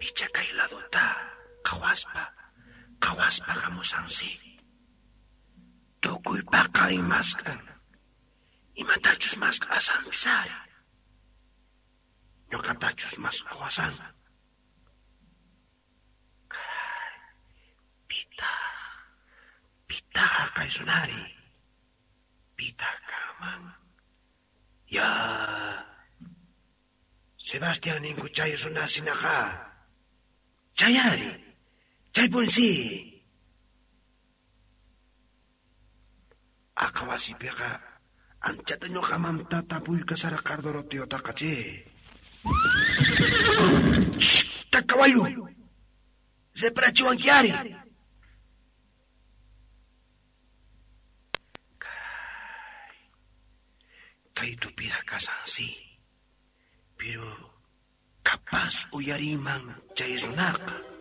Picha kay laduta qhawaspa, qhawaspa hamusansi. Tukuy paqarin mask'an. Imatachus mask'asanpis ari. Ñuqatachus mask'awasan. Caray, pitaq, pitaq haqay runari? Pitaq kanman? Ya, Sebastián ninku chay runa sinaqa. Chay ari, chaypunsi. Aqa wasipiqa anchata ñuqamanta tapuykasarqa Doroteotaqa che. Ta kawallu! Reparachiwanki ari. Caray. Kay tupira kasansi. Pero capaz uyariman chay runaqa.